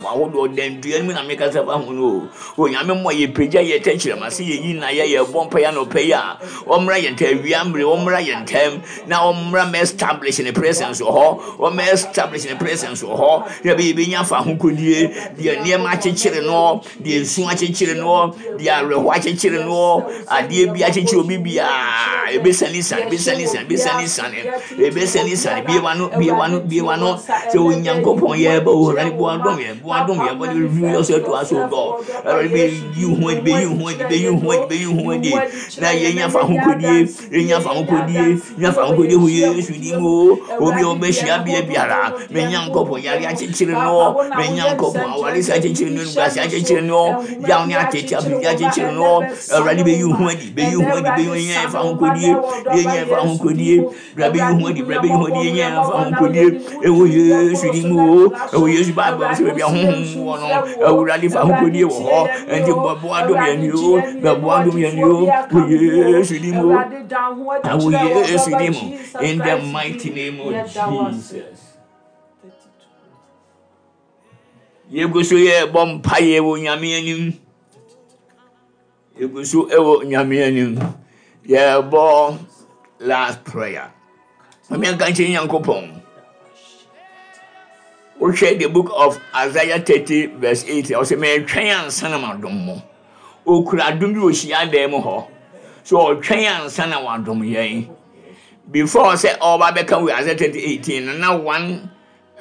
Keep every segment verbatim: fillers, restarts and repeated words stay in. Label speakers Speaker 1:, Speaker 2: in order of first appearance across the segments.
Speaker 1: Ahodoɔ dandua no mu na mekasa fa ho no o. Onyame mmɔ yɛpagya yɛ tɛkyerɛma sɛ yɛyi na yɛ yɛbɔ mpa yɛ anɔpɛ yi a, ɔmmra yɛn ntam awia mmere, ɔmmra yɛn ntam na ɔmmra mɛ establish ne presence wɔ hɔ, ɔmmɛ establish ne presence wɔ hɔ, na ɛbɛyɛ yɛbɛnya fa ho kodie. Deɛ nneɛma akyekyere no, deɛ nsu akyekyere no, deɛ awerɛhoɔ akyekyere no, adeɛ bi akyekyere obi biara, ɛbɛsane sane, ɛbɛsane sane, ɛbɛsane sane, ɛbɛsane sane. Bie wano, bie wano, bie wano sɛ Onyankopɔn yɛbɛ wo. Awurade, boa dom yɛ, boa dom yɛ, bɔde reveal yourself to us, O God. Awurade, bɛyi wo ho adi, bɛyi wo ho adi, bɛyi wo ho adi, bɛyi wo ho adi, na yɛnya fa ho kodie, yɛnya fa ho kodie, nya fa ho kodie wɔ Yesu din mu. Obi a ɔbɛhyia bea biara, me Nyankopɔn, yare akyekyere no, me Nyankopɔn, aware sɛ akyekyere no, nguase akyekyere no, yaw ne atete afidie akyekyere no, Awurade, bɛyi wo ho adi, bɛyi wo ho adi, bɛyi wo, yɛnya fa ho kodie, yɛnya fa ho kodie. Bra bɛyi wo ho adi, bra bɛyi wo ho adi, yɛnya fa ho kodie ɛwɔ Yesu din mu o, ɛwɔ Yesu. Bible sɛ baabi a honhom wɔ no, Awurade, fa ho kodie wɔ hɔ. Ɛnti bɔboa dom yɛn ni o, bɛboa dom yɛn ni o, wɔ Yesu din mu, ɛwɔ Yesu din mu, in the mighty name of Jesus. Yɛgu so yɛbɔ mpaeɛ wɔ Nyame anim, yɛgu so ɛwɔ Nyame anim, yɛbɔ last prayer. Mame anka nkyerɛ Nyankopɔn, wohwɛ the Book of Isaiah thirty verse eight, ɔsɛ mɛtwɛn ansa na madom mo. Okura adom bi wɔ hyiadan mu hɔ so, ɔtwɛn ansa na wadom yɛn. Before sɛ ɔba bɛka wɔ Isaiah thirty eighteen no na one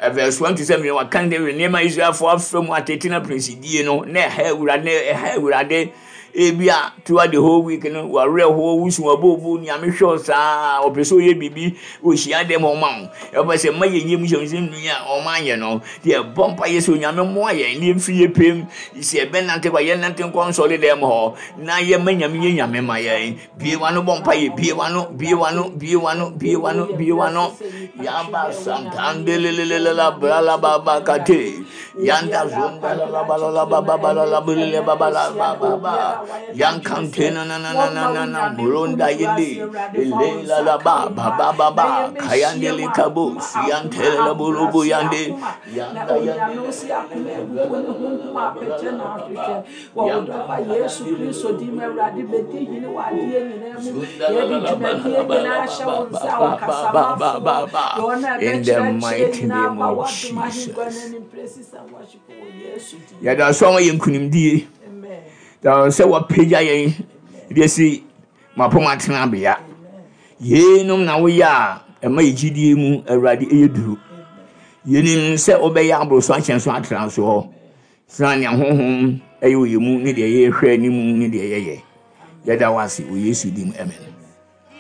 Speaker 1: uh, verse one to seven, waka ne nneɛma Israelfoɔ afa mu atete na prinsidie no na ɛha Awurade, na ɛha Awurade. Ebi a throughout the whole week no, wawerɛ hɔ, wusu abobo. Nyame hwɛ saa, ɔpɛ sɛ ɔyɛ biribi wɔ hyiadan mu ɔma wo. Ɛpɛ sɛ mma yɛnyɛ mu hyɛ sɛ nnua a ɔma anyɛ no deɛ, ɛbɔ mpa yɛ sɛ Onyame mmoa yɛn ne yɛmfiri yɛ pɛm sɛ yɛbɛnante kɔ, yɛnante nkɔ nsɔre dɛm hɔ na yɛma Nyame yɛ Nyame ma yɛn. Bie wano bɔ mpa yɛ, bie wano, bie wano, bie wano, bie wano, bie wano. Yaba santandelelelele brala baba kate yanda zonda la la ba la la ba ba ba la la bulele ba ba la ba ba ba yankante na na na na na na na muronda yende ele la la ba ba ba ba ba kayandele kabo siyantele la bulubu yande
Speaker 2: na Onyame wo si akoma abubu ne honhom apɛkyɛ na ahwehwɛ wɔ wo dɔba Yesu Kristo din mu. Awurade, bɛdi hene wɔ adeɛ nyinaa mu. Yɛde dwumadie nyinaa hyɛ wo nsa a wɔkasamafoɔ deɛ ɔno a
Speaker 1: In the
Speaker 2: ɛbɛkyerɛkyerɛ
Speaker 1: mighty
Speaker 2: nyinaa
Speaker 1: name
Speaker 2: ma
Speaker 1: of
Speaker 2: wɔadom ahengua
Speaker 1: Jesus.
Speaker 2: no anim praises and worship wɔ Yesu din.
Speaker 1: Yɛda so ama yɛ nkonimdie.
Speaker 2: Amen.
Speaker 1: Da sɛ wɔpagya yɛn de si mapɔm atenabea. Yeinom na woyɛ a ɛma yɛ gyidie mu, Awurade, ɛyɛ duru. Yɛnim sɛ wobɛyɛ aboro so akyɛn so atra so hɔ sane nea honhom ɛyɛ wɔ yɛ mu ne deɛ yɛhwɛ anim ne deɛ yɛyɛ. Yɛda wo ase wɔ Yesu dim, amen.